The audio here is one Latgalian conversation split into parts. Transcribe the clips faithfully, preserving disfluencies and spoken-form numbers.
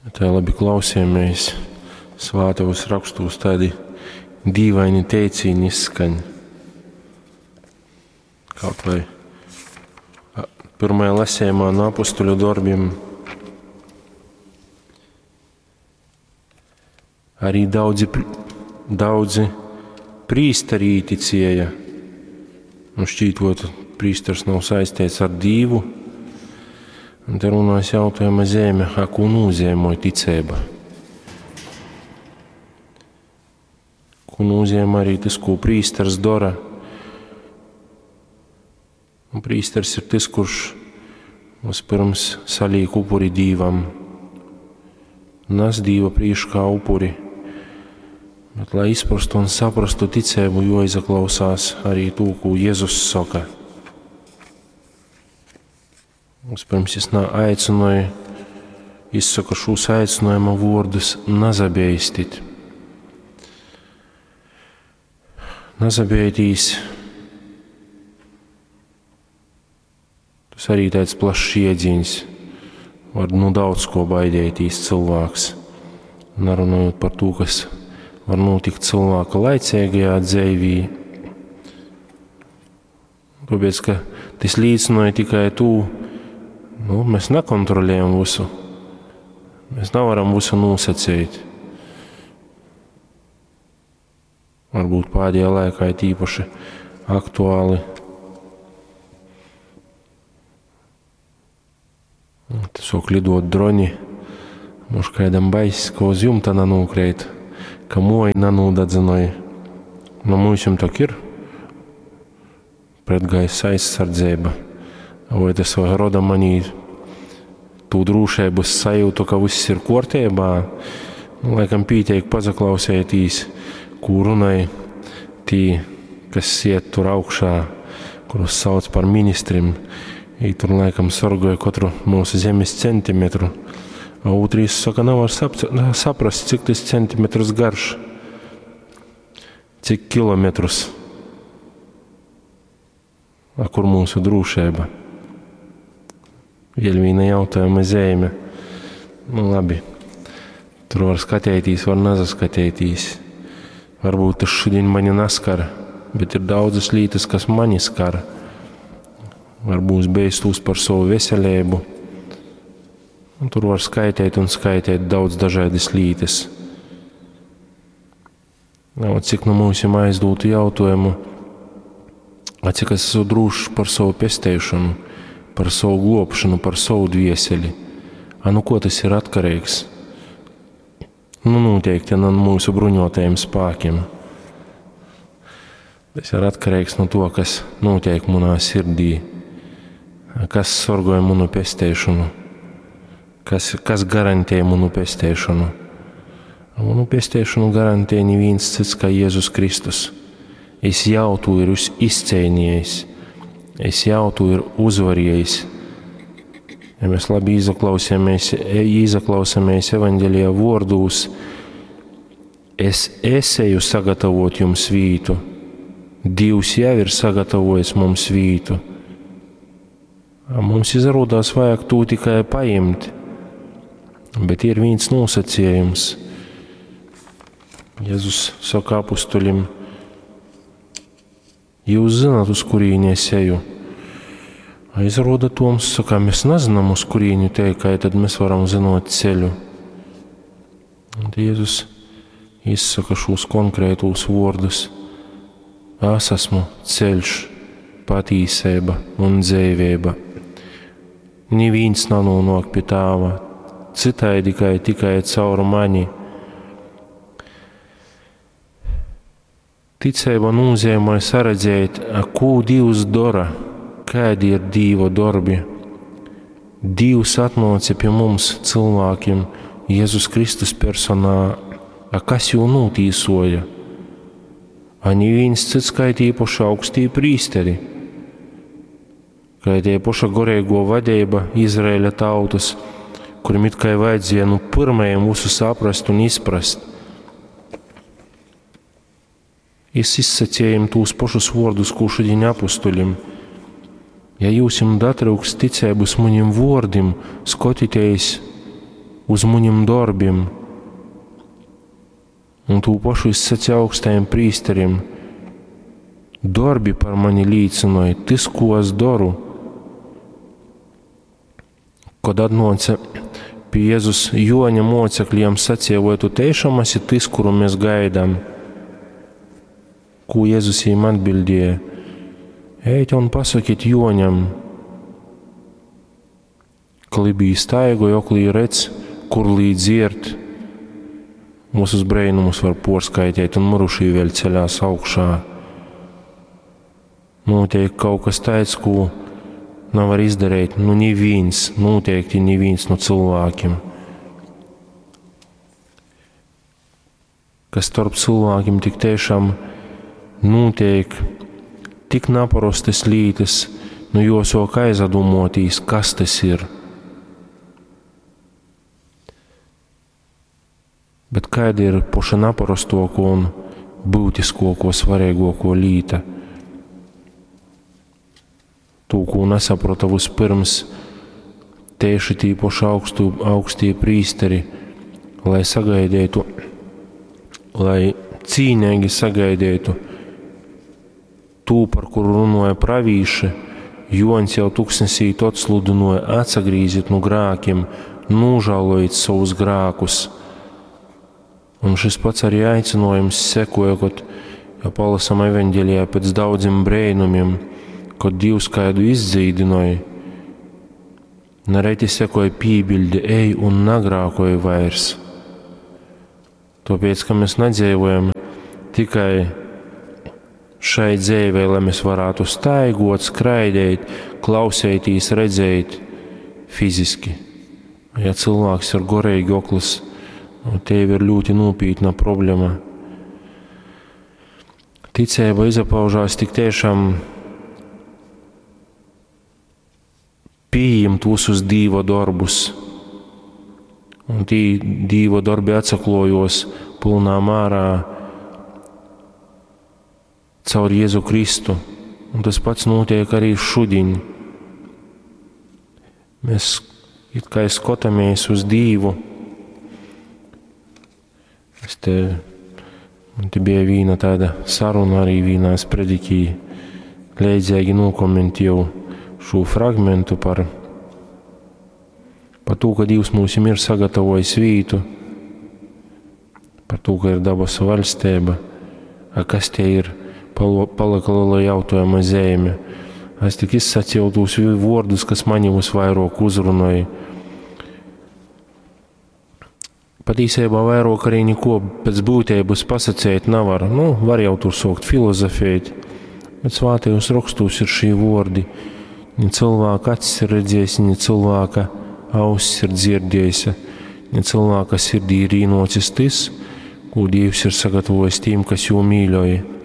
Tā labi klausījāmies svātajos rakstos tādi dīvaini teicīni izskaņ. Kaut vai pirmajā lasījumā no apustuļu darbiem arī daudzi, daudzi prīsteri īticēja. Nu, šķītot, prīsters nav saistīts ar Dīvu. Un te runās jautājuma zeme, a ko nozīmē ticība. Ko nozīmē arī tas, ko prīsters dara. Un prīsters ir tas, kurš vispirms saliek upuri Dīvam, nes Dīva prīškā upuri. Bet, lai izprastu un saprastu ticību, joizaklausās arī to, ko Jēzus saka. Vispirms jis aicināja, izsaka šos aicinājuma vārdus: nazabeistit. Nazabeitīs. Tas arī tāds plašs jēdziens. Var nu daudz ko baidētīs cilvēks. Nerunājot par to, kas var notikt cilvēka laicīgajā dzīvī. Tāpēc, ka tas līdzināja tikai to, nu, mēs nekontrolējam visu. Mēs nevaram visu nosacīt. Varbūt pēdējā laikā ir īpaši aktuāli. Te sāk lidot droni. Mož kādam bais, ka uz jumta nenūkrīt, ka moja nenūdedzināja. Nu, mums tak ir pretgaisa aizsardzība. Vai tas roda manī tū drošības sajūtu, ka viss ir kārtībā? Nu, laikam pīteik pazaklausētīs, ko runāja tī, kas iet tur augšā, kurus sauc par ministriem. I tur laikam sargoja katru mūsu zemes centimetru. A otrīs saka, nevar saprast, cik tas centimetrs garš, cik kilometrus. A kur mūsu drošība? Vēl viena jautājuma zīme. Nu, labi. Tur var skatīties, var nesaskatīties. Varbūt tas šodien mani neskar, bet ir daudzas lietas, kas mani skar. Varbūt beistos par savu veselību. Un tur var skaitīt un skaitīt daudz dažādas lietas. Nav, cik no mums ir aizdotu jautājumu, a cik es esmu drošs par savu pesteišanu, par savu globšanu, par savu dvieseli. A nu ko tas ir atkarīgs? Nu, noteikti no mūsu bruņotajiem spēkiem. Tas ir atkarīgs no to, kas notiek manā sirdī, kas sargoja manu pesteišanu, kas, kas garantē manu pesteišanu. Manu pesteišanu garantē neviens cits kā Jēzus Kristus. Es jau to ir izcīnījis, es jau to ir uzvarējis. Ja mēs labi izaklausāmies, izaklausāmies evaņģēlijā vārdūs, es esēju sagatavot jums vītu. Dievs jau ir sagatavojis mums vītu. A mums izrādās vajag to tikai paimt, bet ir viens nosacījums. Jēzus saka apustuļiem, jūs zināt, uz kurieni es eju. Izrāda Toms saka, mēs nezinām, uz kurieni te, kā tad mēs varam zinot ceļu. Un Jēzus izsaka šos konkrētos vārdus. Es esmu ceļš, patīsība un dzīvība. Neviens nenonāk pie Tēva, citādi tikai, tikai caur mani. Ticība nozīmē saredzēt, ko Dievs dara, kādi ir Dieva darbi. Dievs atnāca pie mums, cilvēkiem, Jēzus Kristus personā, a kas jū notīsoja? A neviens cits kā tie paši augstie prīsteri, kā tie paša garīgo vadība Izraēļa tautas, kuriem it kā vajadzēja nu pirmajiem visu saprast un izprast. Es izsacījām tos pašus vārdus, ko šodien apustuļiem. Ja jūs jums datrūks ticības maniem vārdiem, skatieties uz munim dorbim. Un tū pašu es sacīju augstajam prīsterim. Dorbi par mani līcinoja, tys, ko es doru. Kad atnāca pie Jēzus Joņa mocekļiem, sacīja, vai tu tiešām esi tys, kuru mēs gaidām? Ko Jēzus viņiem atbildēja? Ejiet un pasakiet Joņam, klibī staigoja, oklī redz, kur līdz dzierd. Mūsu brēnumus var porskaitīt, un mirušī vēl ceļās augšā. Notiek kaut kas tāds, ko nevar izdarīt, nu neviens, noteikti neviens no cilvēkiem. Kas starp cilvēkiem tik tiešām notiek tik naparostas lietas, nu jāsāk aizdomāties, kas tas ir. Bet kāda ir poša naparastoko un būtiskāko, svarīgāko lieta? To, ko nesaprata vispirms tieši tī poši augstu, augstie prīsteri, lai sagaidītu, lai cīnīgi sagaidītu tū, par kuru runāja pravīši, Joņs jau tuksnesī tot sludinoja, atsagrīziet no grākiem, nožēlojiet savus grākus. Un šis pats arī aicinājums sekoja, kad ja palasam evaņģēlijā pēc daudziem brēnumiem, kad Dievs kādu izdzīdināja, nereti sekoja piebilde, ej un nagrākoja vairs. Tāpēc, ka mēs nedzīvojam tikai šai dzīvē, lai mēs varētu staigot, skraidīt, klausēties, redzēt fiziski. Ja cilvēks ir gorīgi okls, te ir ļoti nopietna problēma. Ticība izpaužās tik tiešām pieņemt visus Dieva darbus. Un tī Dieva darbi atsaklojos pilnā mērā caur Jēzu Kristu. Un tas pats notiek arī šodien. Mēs it kā skatāmies uz Dievu. Es te, man te bija viena tāda saruna arī vienā spredikī, leidzīgi nokomentēju šo fragmentu par, par to, ka Dievs mums ir sagatavojis vītu, par to, ka ir dabas valstība, a kas tie ir, palika liela jautājuma zīme. Es tik izsacīju tos vārdus, kas mani visvairāk uzrunāja. Patiesībā vairāk arī neko pēc būtības pasacīt nevar. Nu, var jau tur sākt filozofēt, bet svētajos rakstos ir šī vārdi. Ne cilvēka acis ir redzējis, ne cilvēka auss ir dzirdējis, ne cilvēka sirdī ir īnocis tas, ko Dievs ir sagatavojis tiem, kas jū mīļoja.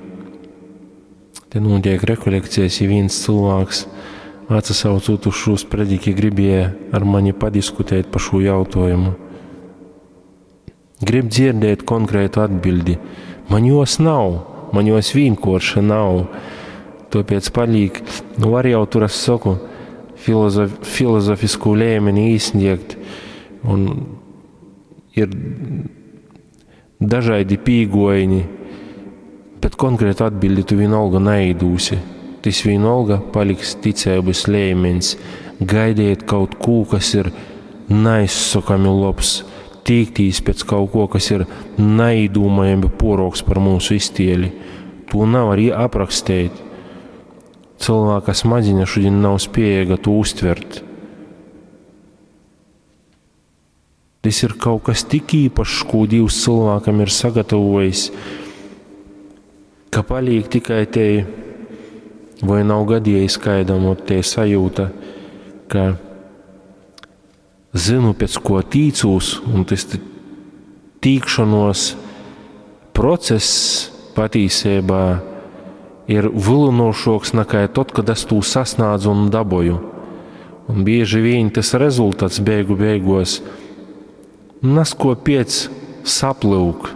Te notiek rekolekcijas, ja viens cilvēks atsaucot uz šo sprediķi gribēja ar mani padiskutēt par šo jautājumu. Grib dzirdēt konkrētu atbildi. Man jos nav, man jos vienkārši nav. Tāpēc paliek, nu var jau tur es saku, filozof, filozofisku līmeni īsniegt. Un ir dažādi pīgojiņi, bet konkrētu atbildi tu vienalga neidūsi. Tas vienalga paliks ticības līmenis. Gaidiet kaut ko, kas ir neizsakami labs, tīktīs pēc kaut ko, kas ir neīdūmajami poroks par mūsu iztieli. To nav arī aprakstīt. Cilvēka smadziņa šodien nav spējīga to uztvert. Tas ir kaut kas tik īpašs, ko Dievs cilvēkam ir sagatavojis, ka paliek tikai te, vai nav gadījis kādam te sajūta, ka zinu, pēc ko tīcūs, un tas tīkšanos process patīsībā ir vilinošāks nekā tad, kad es to sasniedzu un daboju. Un bieži vien tas rezultāts beigu beigos nasko piec saplūk.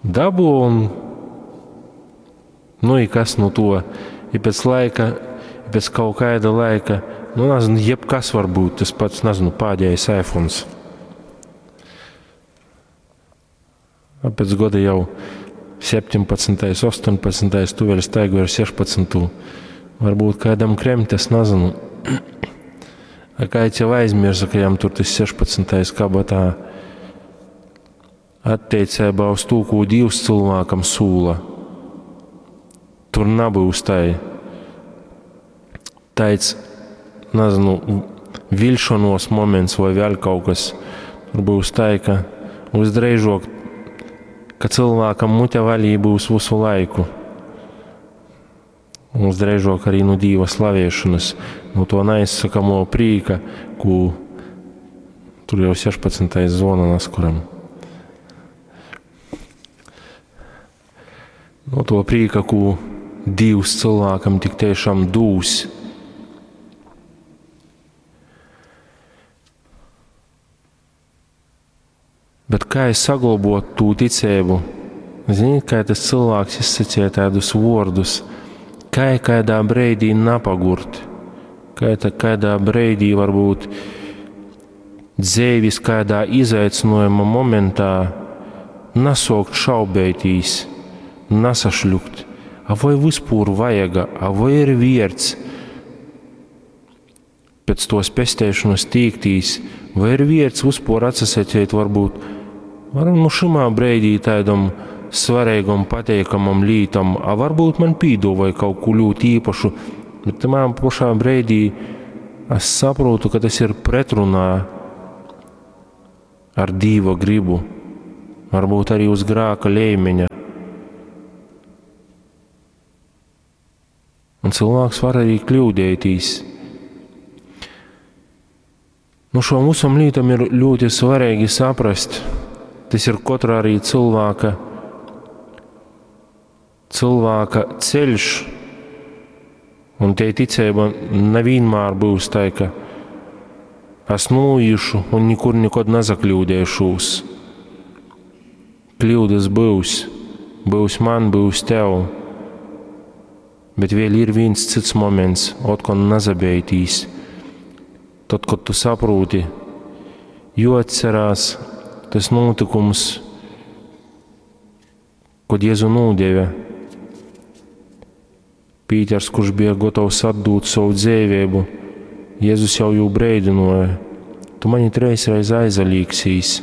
Dabu un nu i kas no to? I pēc laika, i pēc kaut kāda laika, nu nezinu, jebkas var būt, tas pats, nezinu, pēdējais iPhones. A pēc goda jau septiņpadsmytais, ostoņpadsmytais, tu vēl staigoj ar sešpadsmytū. Varbūt kādam kremt, es nezinu. A kāds jau aizmirsa, ka jam tur tas sešpadsmytais kabatā. Atteicībā uz to, ko Dievs cilvēkam sūla. Tur nebūs tai, tāds, nezinu, vilšanos moments vai vēl kaut kas. Tur būs tā, ka visdrīzāk, ka cilvēkam mute vaļī būs visu laiku. Un visdrīzāk arī no Dieva slavēšanas, no to neizsakamo prīka, ko tur jau sešpadsmitais zvona naskuram. No to prīka, ko Dievs cilvēkam tik tiešām dūs. Bet kā es saglabot tū ticību? Ziniet, kā tas cilvēks izsacīja tādus vārdus, kā kādā breidī napagurt, kā tā kādā breidī varbūt dzēvis kādā izaicinājuma momentā nesaukt šaubētīs, nesašļukt, a vai vispār vajaga, a vai ir vierts pēc tos pestēšanas tīktīs, vai ir vierts vispār atsasacīt varbūt, varam nu šimā breidī tādam svarīgam, pateikamam lītam, a varbūt man pīdovai kaut ko ļoti īpašu, bet tamā pašā breidī es saprotu, ka tas ir pretrunā ar Dīva gribu, varbūt arī uz grāka līmeņa. Un cilvēks var arī kļūdētīs. Nu, šo visam lītam ir ļoti svarīgi saprast. Tas ir katra arī cilvēka, cilvēka ceļš. Un te ticība nevienmēr būs tā, ka es nūjušu un nekur nekad nezakļūdēšos. Kļūdas būs, būs man, būs tev. Bet vēl ir viens cits moments, otkon nezabeitīs. Tad, kad tu saproti, jo atcerās tas notikums, kad Jēzu nodeva. Pīters, kurš bija gatavs atdūt savu dzīvību, Jēzus jau jū breidinoja, tu mani treisreiz aizalīksīs.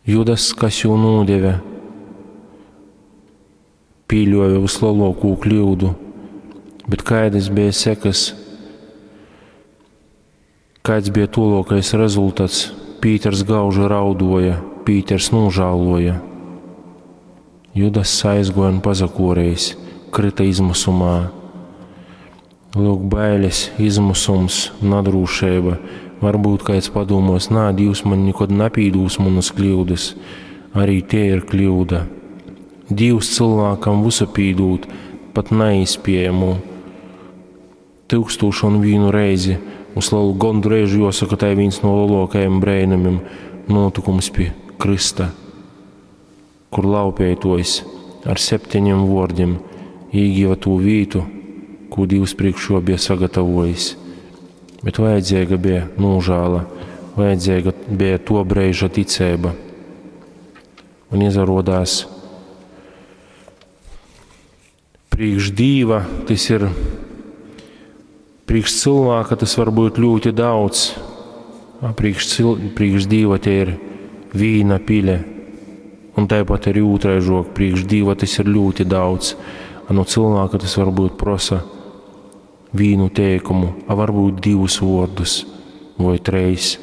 Judas, kas jū nodeva, pīļoja vislielāko kļūdu, bet kādas bija sekas, kāds bija tolokais rezultāts? Pīters gauži raudoja, Pīters nožēloja. Judas aizgoja un pazakorējis, krita izmisumā. Lūk, bailes, izmisums, nadrūšība. Varbūt kāds padomos, nā, Dievs man nekad nepīdūs manas kļūdas. Arī tie ir kļūda. Dievs cilvēkam visu pīdūt, pat neizpējamu. Tūkstošu un vienu reizi. Uz lielu gondreižu jāsaka, tā ir viens no lielākajiem brēnumiem notikums pie Krista, kur laupētojs ar septiņiem vārdiem īgiva to vītu, ko Dievs priekšo bija sagatavojis. Bet vajadzīga bija nožēla, vajadzīga bija to brīža ticība. Un izarodās priekš Dieva, tas ir priekš cilvēka, tas var būt ļoti daudz. A priekš cil-, priekš Dieva tie ir vīna pile. Un tāpat arī otraižok, priekš Dieva tas ir ļoti daudz. A no cilvēka tas varbūt prosa vīnu teikumu, a varbūt divus vārdus vai treis.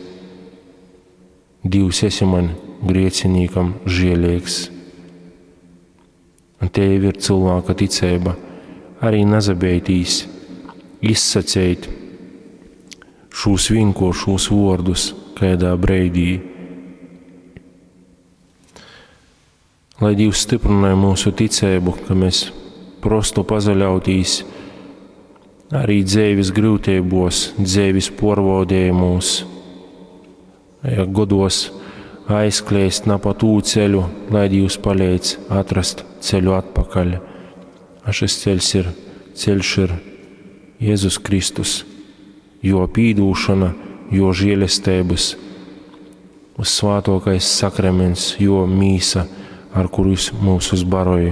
Dievs esi man griecinīkam žēlīgs. Un te jau ir cilvēka ticība, arī nezabeitīs izsacīt šos vienkāršos vārdus kādā breidī. Lai Dievs stiprināja mūsu ticību, ka mēs prostu pazaļautīs arī dzīves grūtībos, dzīves porvodējumos, ja godos aizkliest na pa tū ceļu, lai Dievs palīdz atrast ceļu atpakaļ. A šis ceļš ir, ceļš ir Jēzus Kristus, jo pīdūšana, jo žēlestības Vyssvātōkais Sakraments, Jō mīsa, ar kuru Jys myusus baroj,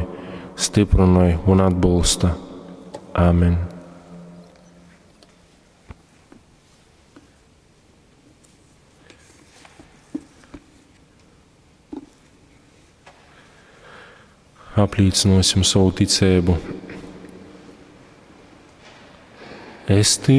styprynoj un atbolsta. Āmen. Aplīcynōsim sovu ticeibu. Es tycu.